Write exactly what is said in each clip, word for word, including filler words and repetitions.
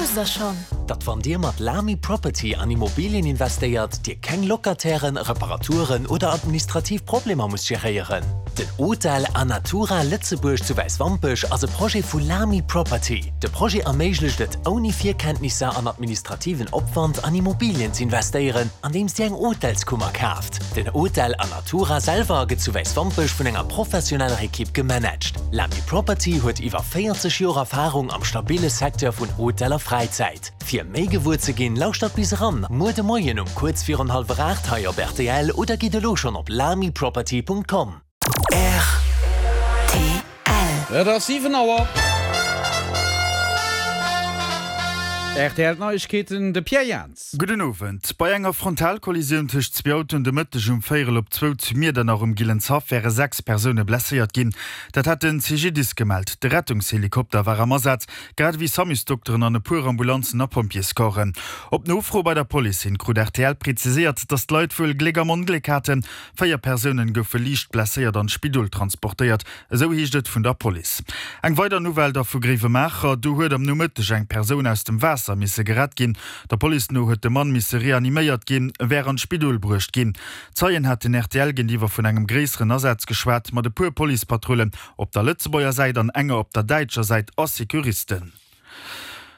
Wousst der schonn? Datt wann Dir mat Lamy Property an Immobilien investéiert, Dir keng Locatairen, Reparaturen oder administrativ Problemer musst geréieren? Den Hotel Anatura Lëtzebuerg zu Wäiswampech ass e Projet vu Lamy Property. De Projet erméiglecht et, ouni Virkenntnisser an administrativen Opwand an Immobilien z'investéieren, andeems Dir eng Hotelskummer kaaft. Den Hotel Anatura selwer gëtt zu Wäiswampech vun enger professioneller Ekipp gemanagt. Lamy Property huet iwwer véierzeg Joer Erfarung am stabille Secteur vun Hotel a Fräizäit. Fir méi gewuer ze ginn, lauschtert bis eran muer de Moien um kuerz virun hallwer aacht hei op rtl oder gitt elo schonn op lamyproperty.com. Rtl. Et ass siwen Auer. Rtl Neiegkeeten, de Pierre Jans. Gudden Owend. Bei enger Frontalkollisioun tëscht zwee Autoen de Mëtteg um véierel op zwou zu Miedernach um Gillenshaff wäre sechs Persoune blesséiert ginn. Dat hat den C G D I S gemellt. De Rettungshelikopter war am Asaz, grad ewéi Samusdokteren an e puer Ambulanzen a Pompjeescorpsen. Op Nofro bei der Police hin krut R T L präziséiert, datt d'Leit wuel Gléck am Ongléck haten. Véier Persounen goufe liicht blesséiert an d'Spidol transportéiert, esou heescht et vun der Police. Eng weider Nouvelle da vu Gréiwemaacher, Do huet am Nomëtteg eng Persoun aus dem Waasser misse gerett ginn. Der Police no huet de Mann misse reaniméiert ginn, wär an d'Spidol bruecht ginn. Zeien haten R T L géintiwwer vun engem gréisseren Asaz geschwat, mat e puer Policepatrullen op der Lëtzebuerger Säit an enger op der däitscher Säit a Securisten.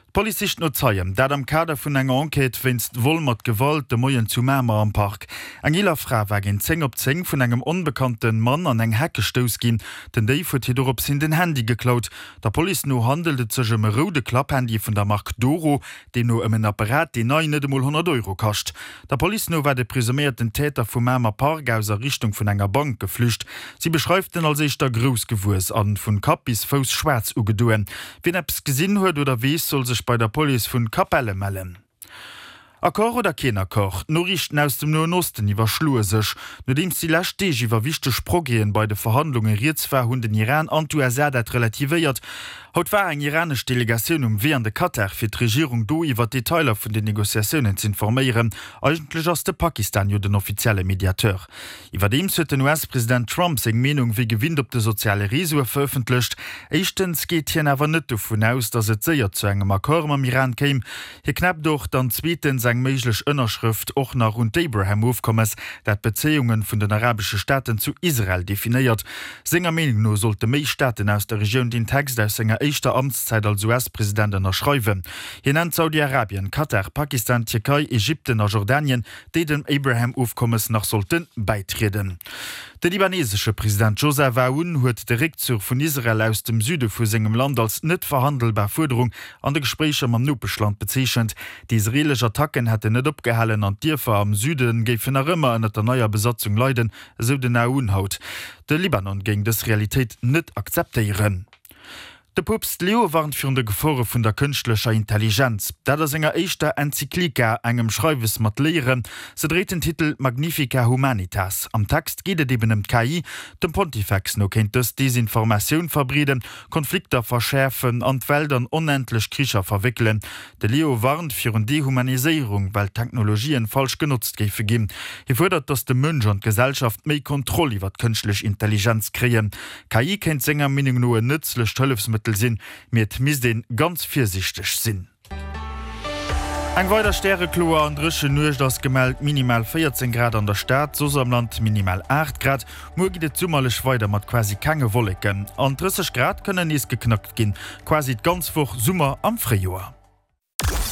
D'Police sicht no Zeien, dat am Kader vun enger Enquête wéinst Vol mat Gewalt de Moien zu Mamer am Park. Eng eeler Fra war géint zéng op zéng vun engem onbekannte Mann an eng Heck gestouss ginn. Den Déif huet hir dorops hin den Handy geklaut. Der Police no handelt et sech ëm e roude Klapphandy vun der Mark Doro, deemno ëm en Apparat, deen nei net emol honnert Euro kascht. Der Police no war de presuméierten Täter vum Mamer Park aus a Richtung vun enger Bank geflücht. Si beschreift en als éischter grouss gewuess an vun Kapp bis Fouss schwaarz ugedoen. Wien eppes gesinn huet oder weess, soll sech bei der Police vun Capelle mellen. Accord oder keen Accord? D'Noriichten aus dem Noen Osten iwwerschloe sech. Nodeems déi lescht Deeg iwwer wichteg Progrèsen bei de Verhandlunge rieds war, hunn den Iran an d'U S A dat relativéiert. Haut war eng iranesch Delegatioun um Wee an de Katar, fir d'Regierung do iwwer d'Detailer vun den Negociatiounen z'informéieren. Eigentlech ass de Pakistan jo den offizielle Mediateur. Iwwerdeems huet den U S-President Trump seng Meenung wéi gewinnt op de soziale Reseaue verëffentlecht. Éischtens geet hien awer net dovun aus, datt et séier zu engem Accord mam Iran kéim. Hie knäppt och dann zweetens eng méiglech Ënnerschrëft och nach un d'Abraham-Ofkommes, dat d'Bezéiunge vun den arabesche Staaten zu Israel definéiert. Senger Meenung no sollte méi Staaten aus der Regioun den Text aus senger éischter Amtszäit als U S-President ënnerschreiwen. Hien nennt Saudi-Arabien, Katar, Pakistan, Tierkei, Ägypten a Jordanien, déi dem Abraham-Ofkommes nach sollte bäitrieden. De libanesesche President Joseph Aoun huet de Réckzuch vun Israel aus dem Süde vu sengem Land als net verhandelbar Fuerderung an de Gespréicher mam Nopeschland bezeechent. Déi israelesch Attacken hätten net opgehalen an d'Dierfer am Süde géifen nach ëmmer ënner der neier Besatzung leiden, esou den Aoun haut. De Libanon géing dës Realitéit net akzeptéieren. De Poopst Leo warnt virun de Gefore vun der kënschtlecher Intelligenz. Dat a senger éischter Enzyklika, engem Schreiwes mat Léieren. Se dréit den Titel Magnifica Humanitas. Am Text geet et eben ëm d'K I. Dem Pontifex no kéint dës Desinformatioun verbreeden, Konflikter verschäerfen an d'Welt an onendlech Kricher verwéckelen. De Leo warnt virun Dehumaniséierung, well d'Technologien falsch genotzt géife ginn. Hie fuerdert, datt de Mënsch an d'Gesellschaft méi Kontroll iwwer d'kënschtlech Intelligenz kréien. K I kéint senger Meenung no en nëtzlecht Hëllefsmëttel sinn, mee et misst ee ganz virsiichteg sinn. Eng weider stärekloer an dréchen Nuecht ass gemellt, minimal véierzéng Grad an der Stad, soss am Land minimal aacht Grad. Muer geet et summerlech weider mat quasi kenge Wolleken. An drësseg Grad kënnen nees geknackt ginn. Quasi d'ganz Woch Summer am Fréijoer.